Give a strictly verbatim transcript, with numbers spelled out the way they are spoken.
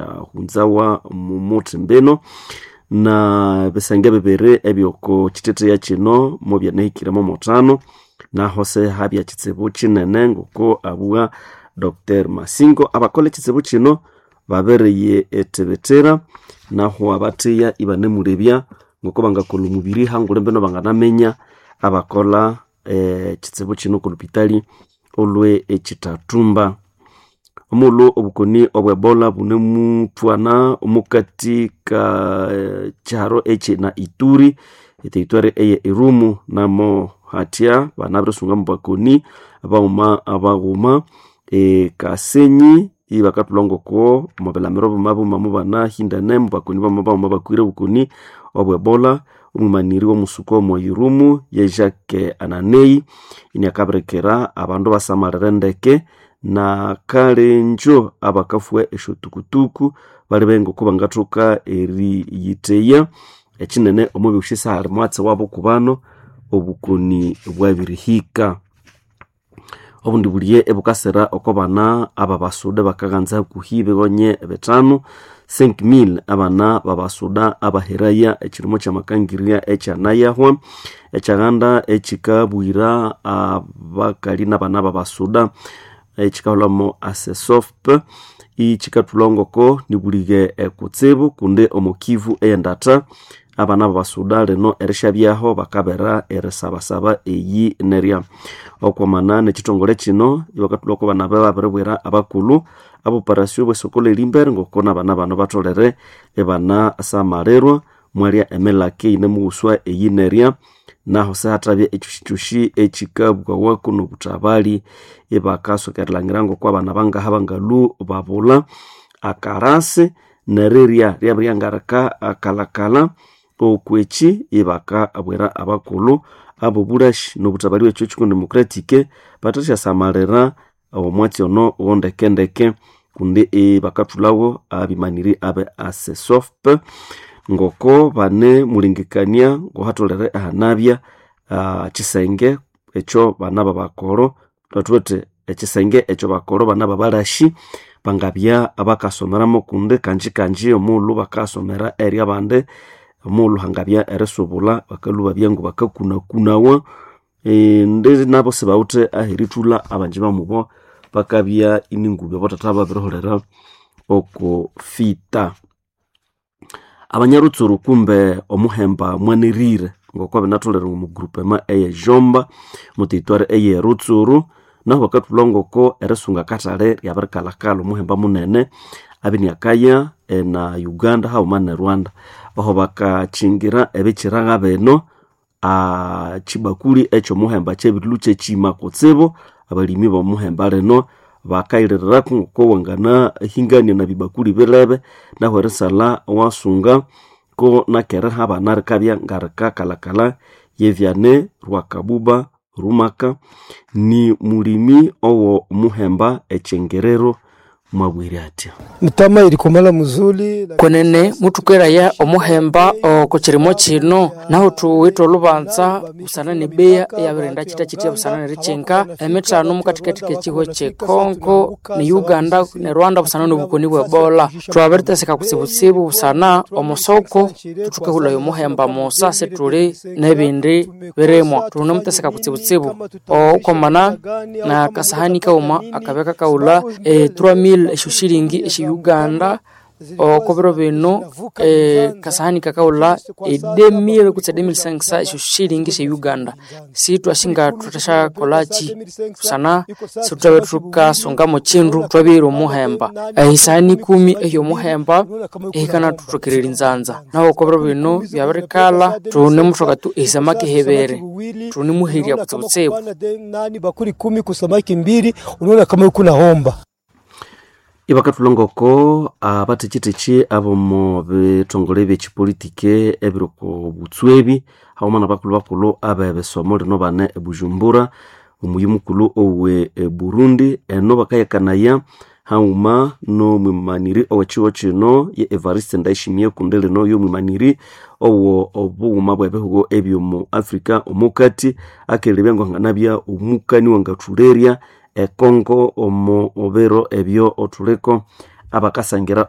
syahunzawa mumuthi mbino na ebisenge bibiri ebyoko kiteteya kino mubyanahikiremo mutano naho se habya kitsibu kinene ngoko abugha Dr Masingo abakola ekitsibu kino babereye ethibitira naho abatheya ibanemulebya ngoko bangakolha omubiri hangulhu mbino banganaminya abakolha ekitsibu kino oko lupitali olwe ekitatumba. Omulhu obukoni obwe Ebola bunemuthwana omukati ka kyiharo ekyi na Ituri eterritory eye Irumu namo hathya banabirisunga mubakoni baghuma baghuma e Kasenyi ibakathulha ngoko omubilamiro buma buma mubanahindane mubakoni bama baghuma bakwire obukoni obwe Ebola. Omwimaniri womusuku omo Irumu ye Jacques Ananei iniakabirikira abandu basamalire ndeke na kalenjo abakafua esyotukutuku balebe ngoko bangathoka eriyitheya ekinene omubyosi sihali mwatsi wabo kubano obukoni bwabirihika. Obundi buliye ebukasira oko bana ababasuda bakaghanza hakuhi bighonye bithanu cinq mille abana babasuda abaheraya ekirimo kyamakangirya ekyanayahwa ekyaghanda ekikabwira abakali nabana babasuda ekikahulhamo ASESOP ikikathulha ngoko nibulighe ekutsibu kundi omo Kivu eyendatha abana babasuda lino erishabyaho bakabera erisabasaba eyi nerya. Okwamana nekithongole kino ibakathulha oko bana babiribwira abakulhu aboparasyo bwesoko lyerimbere ngoko nabana bano batholere ibanasamalirwa mwalya emilaka eyinemughuswa eyi nerya naho sihathabya ekyosikyosi ekikabwawaku nobuthabali ibakasoka erilhangira ngoko abana bangaha bangalhu babulha akarasi nerirya ryabiryangarika akalhakalha okweki ibakabwira abakulhu abobulhashi nobuthabali bwekyo kiko democratic bathasyasamalira omwatsi ono wondekendeke kundi ibakathulhawo abimaniri abe ASESOP ngoko banemulengekania ngohatholere ahanabya uh, kisenge ekyo bana babakoro thuwithe ekisenge ekyo bakoro bana babalashi bangabya abakasomeramo kundi kanji kanji omughulhu bakasomera eri abandi omughulhu hangabya erisubula bakalhwa babya ngu bakakunakunawa e, ndi nabo sibawithe aherithulha abanji bamubo bakabya iningubi abathatha babiriholera oko fita. Abanyarutsuru kumbe omuhemba mwanirire ngoko binatholere omu groupement eye Jomba mu territoire eye Rutsuru naho bakathulha ngoko erisunga akathali ryabirikalhakalha omuhemba munene abiniakaya na Uganda haghuma ne Rwanda aho bakakyingira ebikyiragha bino kyibakuli ekyomuhemba kyabirilhwa kyekyima kutsibu abalimi bomuhemba lino bakayiririraku ngoko wanganahingania na bibakuli bilebe nahu erisalha wasunga ko nakeriha abana rikabya ngarikakalhakalha yevyane Rwakabuba Rumaka ni mulimi owo muhemba ekyengerero mwabwire atya. Mtama ilikomala muzuli kwenene mutukeraya omuhemba oko kirimo kino naho thuwithe olubanza busana nebeya eyabirinda kyita-kyitya busana nerikyinga emithano mukathikathi kekihwa kye Congo ne Uganda ne Rwanda busana nobukoni bwe Ebola thwabiriteseka kutsibutsibu busana omusoko thuthukahulhaya omuhemba musa sithuli nebindi birimwa thunemuteseka kutsibutsibu okwamana na kasahani kaghuma akabya kakahulha e three mille esyo shilingi esye Uganda okobiro bino e, kasahani kakahulha e deux mille kutse deux mille cinq cents esyo shilingi esye Uganda sithwasinga thuthasyakolhaki busana sithwabe thukasungamu kindu thwabihira omuhemba ehisahani ikumi ehyomuhemba ehikana thuthokererya nzanza naho okobiro bino byabirikalha thunemuthoka tu ehisamaki hibiri thunemuherya kutsibutsibu nani bakuli kumi kusamaki mbili unaona kama yuko nahomba Ibakathulha ngoko abathekyithekyi abomo bithongole ebyekipolitiki ebiri oko butswebi haghuma nabakulhu bakulhu abebisomo lino bane ebujumbura omuyi mukulhu owe Burundi eno bakayakanaya haghuma nomwimaniri owekihugho kino ye Evariste Ndayishimiye kundi lino yomwimaniri owo obughuma bwebihugo ebyomu Africa omukati akelebya ngwanganabya omukani wangathulerya ekongo omo biro ebyo othuliko abakasangira.